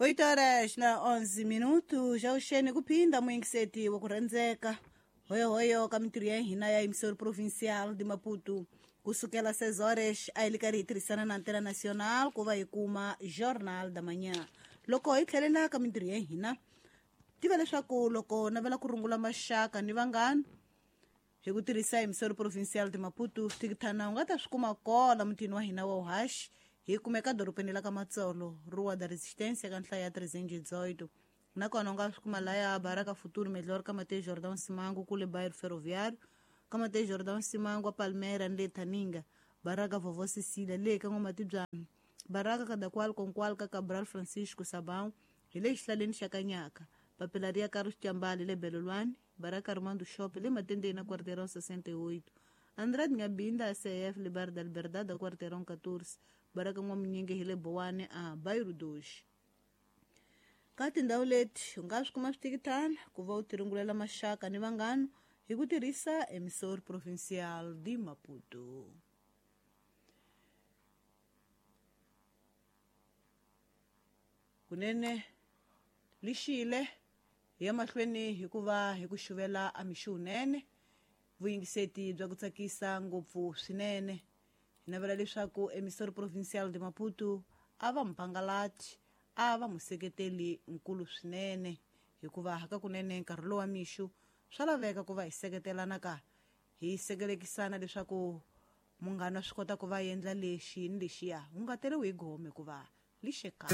8 horas na 11 minutos já uxeni kuphinda muyingiseti wa ku rhandzeka hoyohoyo ka mintirho ya hina ya emissora provincial de Maputo kusukela 6 horas a hi li karhi hi tirhisana na Antena Nacional ku va hi kuma Jornal da Manhã. Loko hi tlhelela ka mintirho ya hina, tiva leswaku loko navela ku rungula maxaka ni vanghana hi ku tirhisa emissora provincial de Maputo, swithikithana u nga ta swi kuma kona mutini wa hina wa uhaxi. Hi kumeka dorobeni la ka Matsolo, Rua da Resistência ka nhlayo ya 318. Nakona u nga swi kuma laya Baraka Futuro Melhor ka Mateus Jordão Simango kule bairro Ferroviário, ka Mateus Jordão Simango a Palmeira ni le Thaninga, Baraka Vovó Cecília le ka N'wamatibyana, Baraka Kadakwal Konkwal ka Cabral Francisco Sabão hi le xihlaleni xa Kanyaka, Papelaria Carlos Chambali le Belolwane, Baraka Armando Shop le Matendeni na Quarteirão 68, Andrade Ngabinda ACF le Bar da Liberdade a Quarteirão 14, Baraka N'wamunyingi hi le Bowane a Bairro 2. Ka tindhawu leti u nga swi kuma swithikithana ku va u tirungulela maxaka ni vanghana hi ku tirhisa emissora provincial de Maputo. Kunene lixile hi ya mahlweni hikuva hi ku xuvela a mixo wunene, vuyingiseti bya ku tsakisa ngopfu swinene. Hi navela leswaku emissora provincial de Maputo a va mupangalati, a va museketeli nkulu swinene, hikuva hakakunene nkarhi lowa mixo swa laveka ku va hi seketelana ka hi sekelekisana leswaku munghana swi kota ku va endla lexi ni lexiya, wu nga teriwi hi gome hikuva lixeka.